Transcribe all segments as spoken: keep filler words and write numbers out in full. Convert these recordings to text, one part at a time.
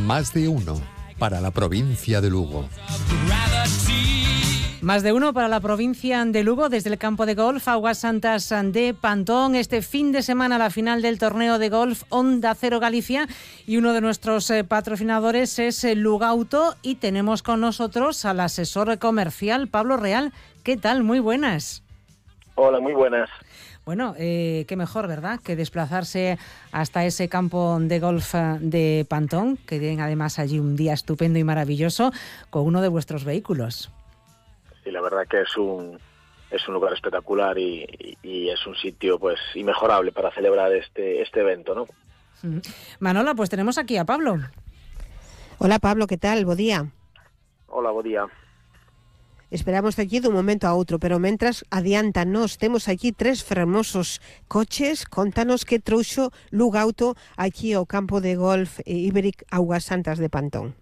Más de uno para la provincia de Lugo. Más de uno para la provincia de Lugo desde el campo de golf Augas Santas de Pantón. Este fin de semana la final del torneo de golf Onda Cero Galicia y uno de nuestros eh, patrocinadores es eh, Lugauto y tenemos con nosotros al asesor comercial Pablo Real. ¿Qué tal? Muy buenas. Hola, muy buenas. Bueno, eh, qué mejor, ¿verdad?, que desplazarse hasta ese campo de golf de Pantón, que tienen además allí un día estupendo y maravilloso con uno de vuestros vehículos. Sí, la verdad que es un es un lugar espectacular y, y, y es un sitio pues inmejorable para celebrar este este evento, ¿no? Manola, pues tenemos aquí a Pablo. Hola Pablo, ¿qué tal? Bo día. Hola, bo día. Esperamos aquí dun momento a outro, pero mentras adiántanos, temos aquí tres fermosos coches. Contanos que trouxo Lugauto aquí ao campo de golf Iberic Augas Santas de Pantón.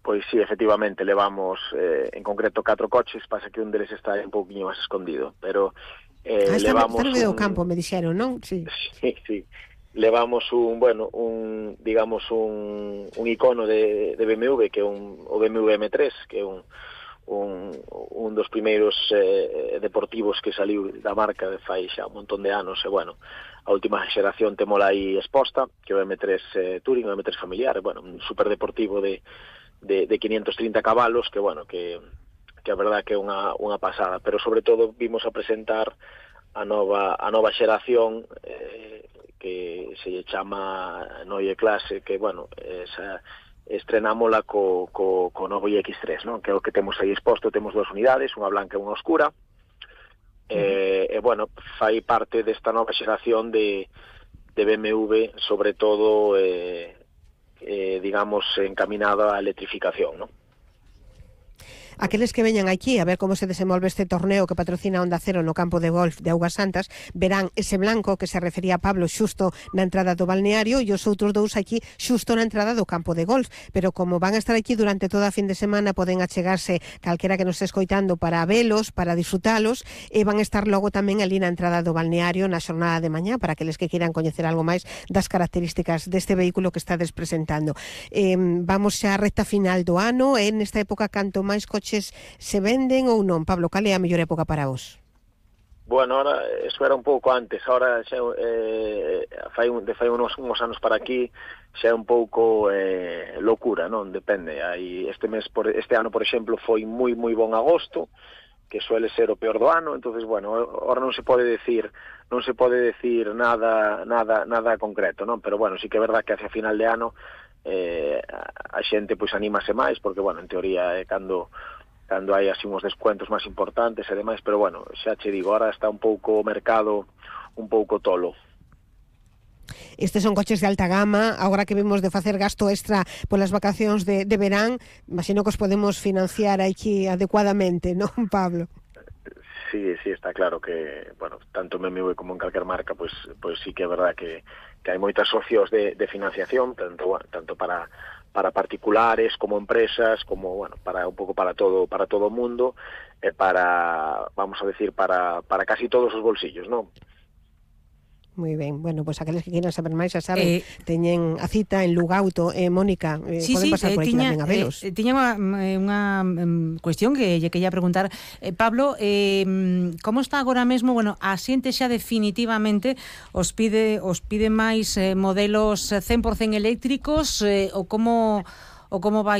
Pois sí, efectivamente, levamos eh, en concreto catro coches, pasa que un deles está un pouquinho máis escondido, pero eh, ah, está, levamos está no medio un... campo, me dixeron, non? Sí. Sí, sí. Levamos un, bueno, un, digamos, un, un icono de, de B M W, que é un, o B M W M tres, que é un, un, un dos primeiros eh, deportivos que saliu da marca de fai xa un montón de anos, e, bueno, a última xeración temola aí exposta, que é o M tres eh, Touring, o M tres familiar, bueno, un superdeportivo de de, de quinientos trinta cabalos, que, bueno, que, que a verdad que é unha, unha pasada, pero sobre todo vimos a presentar a nova, a nova xeración eh, que se lle chama Neue Klasse, que, bueno, esa, estrenámola co, co, co novo I X tres, non? Que é o que temos aí exposto, temos dúas unidades, unha blanca e unha oscura, e, e bueno, fai parte desta nova xeración de, de B M W, sobre todo eh, eh, digamos, encaminada á electrificación, non? Aqueles que veñan aquí a ver como se desenvolve este torneo que patrocina Onda Cero no campo de golf de Augas Santas verán ese blanco que se refería a Pablo xusto na entrada do balneario e os outros dous aquí xusto na entrada do campo de golf, pero como van a estar aquí durante toda a fin de semana poden achegarse calquera que nos este escoitando para velos, para disfrutalos e van a estar logo tamén ali na entrada do balneario na xornada de mañá para aqueles que queiran coñecer algo máis das características deste vehículo que estades presentando. Eh, vamos xa a recta final do ano e nesta época canto máis coches se venden ou non? Pablo, cal é a mellor época para vos? Bueno, ahora, eso era un pouco antes, ahora xa, eh, fai, de fai unos, unos anos para aquí xa é un pouco eh, locura, non? Depende, hai este mes, por, este ano, por exemplo, foi moi, moi bon agosto, que suele ser o peor do ano, entonces, bueno, ahora non se pode decir non se pode decir nada nada nada concreto, non? Pero, bueno, sí que é verdad que hacia final de ano eh, a xente pois anímase máis, porque, bueno, en teoría é cando cando hai así uns descuentos máis importantes e demais, pero, bueno, xa che digo, ahora está un pouco o mercado un pouco tolo. Estes son coches de alta gama, agora que vemos de facer gasto extra polas vacacións de, de verán, imagino que os podemos financiar aquí adecuadamente, non, Pablo? Sí, sí, está claro que, bueno, tanto en B M W como en calquer marca, pues, pues sí que é verdad que, que hai moitas socios de, de financiación, tanto, tanto para para particulares como empresas, como, bueno, para un pouco para todo para todo o mundo, e para, vamos a decir, para, para casi todos os bolsillos, non? Moi ben, bueno, pois pues aqueles que queiran saber máis, xa saben, eh, teñen a cita en Lugauto. Eh, Mónica, eh, sí, poden sí, pasar eh, por aquí tiña, tamén a velos. Eh, tiña unha, unha um, cuestión que lle quería preguntar. Eh, Pablo, eh, como está agora mesmo? Bueno, a xente xa definitivamente os pide os pide máis eh, modelos cen por cen eléctricos eh, ou como ou como vai